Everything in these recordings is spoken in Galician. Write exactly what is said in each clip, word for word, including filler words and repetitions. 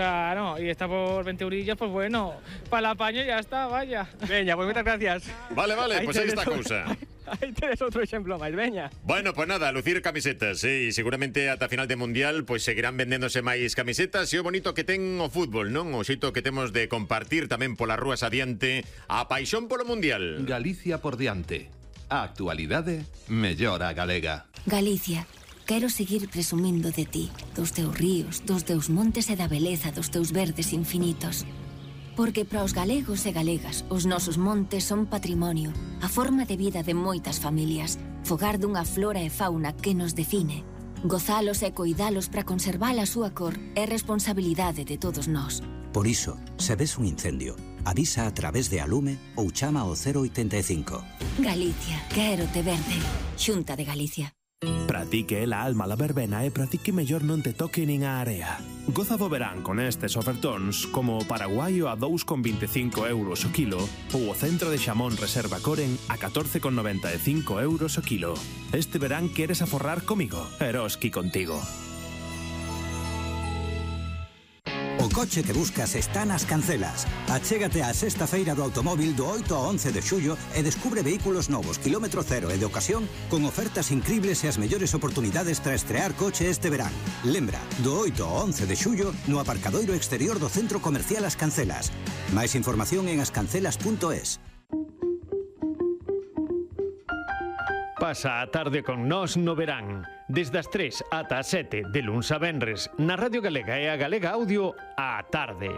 Claro, y está por veinte eurillos, pues bueno, para el apaño ya está, vaya. Veña, pues moitas gracias. Vale, vale, Aí pois aí tedes está a o- cousa. Aí tedes outro exemplo máis, veña. Bueno, pues nada, lucir camisetas, eh, e seguramente ata final de Mundial pois seguirán vendéndose máis camisetas, e o bonito que ten o fútbol, non? O xeito que temos de compartir tamén polas rúas adiante a paixón polo Mundial. Galicia por diante. A actualidade mellora a galega. Galicia, quero seguir presumindo de ti, dos teus ríos, dos teus montes e da beleza dos teus verdes infinitos. Porque para os galegos e galegas, os nosos montes son patrimonio, a forma de vida de moitas familias, fogar dunha flora e fauna que nos define. Gozalos e coidalos para conservar a súa cor é responsabilidade de todos nós. Por iso, se ves un incendio, avisa a través de Alume ou chama ao cero oitenta e cinco. Galicia, quero te verde. Xunta de Galicia. Para ti que é la alma la verbena e para ti que mellor non te toque nin a area. Goza do verán con estes ofertóns como o paraguaio a dous con veinticinco euros o kilo ou o centro de xamón reserva Coren a catorce con noventa e cinco euros o kilo. Este verán queres aforrar comigo, Eroski contigo. O coche que buscas está nas Cancelas. Achégate á sexta feira do automóvil do oito ao once de xullo e descubre vehículos novos, kilómetro cero e de ocasión con ofertas incribles e as mellores oportunidades para estrear coche este verán. Lembra, do oito ao once de xullo no aparcadoiro exterior do Centro Comercial As Cancelas. Máis información en ascancelas punto es. Pasa a tarde con nós no verán. Desde as tres ata as sete de luns a venres na Radio Galega e a Galega Audio á tarde.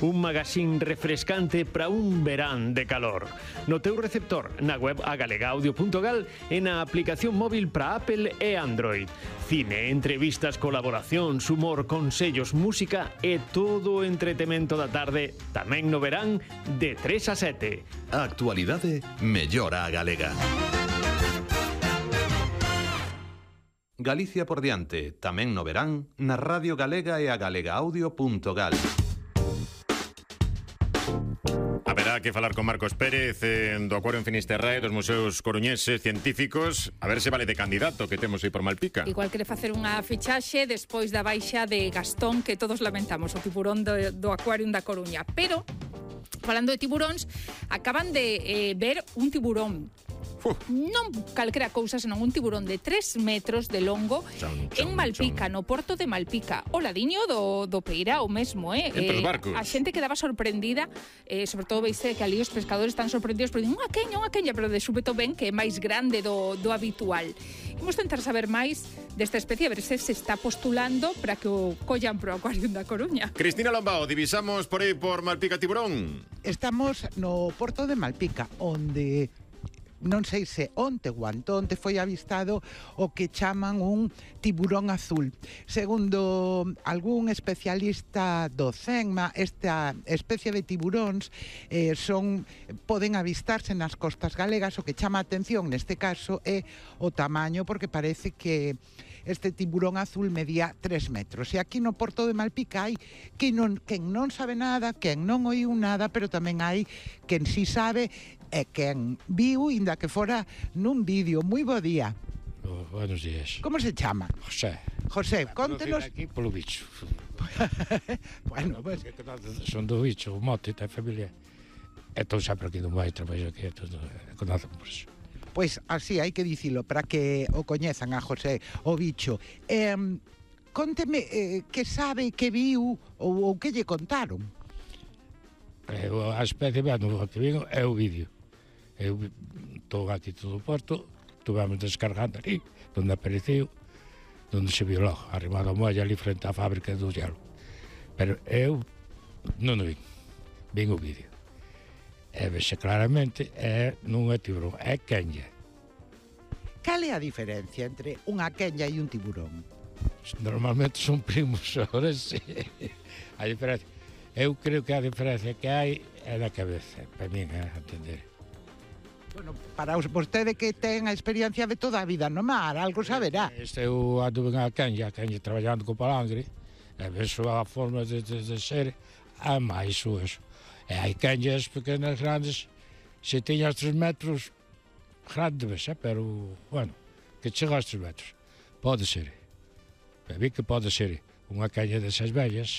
Un magazín refrescante para un verán de calor. No teu receptor, na web agalegaudio punto gal e na aplicación móvil para Apple e Android. Cine, entrevistas, colaboracións, humor, consellos, música e todo o entretemento da tarde tamén no verán de tres a sete. A actualidade mellora a galega. Galicia por diante, tamén no verán, na Radio Galega e a galegaudio punto gal. Haberá que falar con Marcos Pérez eh, do Acuario en Finisterrae, dos museos coruñeses científicos, a ver se vale de candidato que temos aí por Malpica. Igual quere facer unha fichaxe despois da baixa de Gastón que todos lamentamos, o tiburón do, do Acuario da Coruña. Pero, falando de tiburóns, acaban de eh, ver un tiburón. Uh. Non calquera cousa, senón un tiburón de tres metros de longo chon, chon, en Malpica, chon. No porto de Malpica. O ladiño do, do Peirao mesmo, eh? Entre os eh, barcos. A xente quedaba sorprendida, eh, sobre todo veise que ali os pescadores están sorprendidos, pero dicen, unha queña, unha queña, pero de súpeto ven que é máis grande do, do habitual. Imos tentar saber máis desta especie, a ver se se está postulando para que o collan pro Acuario da Coruña. Cristina Lombao, divisamos por aí por Malpica tiburón. Estamos no porto de Malpica, onde non sei se onte ou antonte foi avistado o que chaman un tiburón azul. Segundo algún especialista do CENMA, esta especie de tiburóns eh, son poden avistarse nas costas galegas. O que chama a atención neste caso é o tamaño, porque parece que este tiburón azul medía tres metros. E aquí no porto de Malpica hai quen non, quen non sabe nada, quen non oíu nada, pero tamén hai quen si sabe e quen viu, inda que fora nun vídeo. Moi bo día. Oh, buenos días. Como se chama? José. José, contenos... Aquí polo bicho. Bueno, pues... Son do bicho, o mote, da familia. Estou sempre aquí dun vai, traballo aquí, todo, conozco por eso. Pois así hai que dicilo, para que o coñezan a José, o bicho. Eh, conteme eh, que sabe, que viu ou, ou que lle contaron. Eh, a especie, bueno, o que vigo é o vídeo. Eu estou aquí todo o porto, estuvemos descargando ali, onde apareceu, onde se viu logo, arrimado a molla ali frente á fábrica do gelo. Pero eu non o vin, vin o vídeo. E vexe claramente, é, non é tiburón, é quenlla. Cal é a diferencia entre unha quenlla e un tiburón? Normalmente son primos, ahora sí. A diferencia, eu creo que a diferencia que hai é na cabeza, para mí, a entender. Bueno, para vostede que ten a experiencia de toda a vida no mar, algo saberá. Este eu ando ben a quenlla, a quenlla traballando co palangre, e ves a forma de, de, de ser, é máis o eso. E hai quenllas pequenas, grandes, se teñas tres metros, grande ves, eh? Pero, bueno, que chega aos tres metros. Pode ser. E vi que pode ser unha quenlla desas vellas,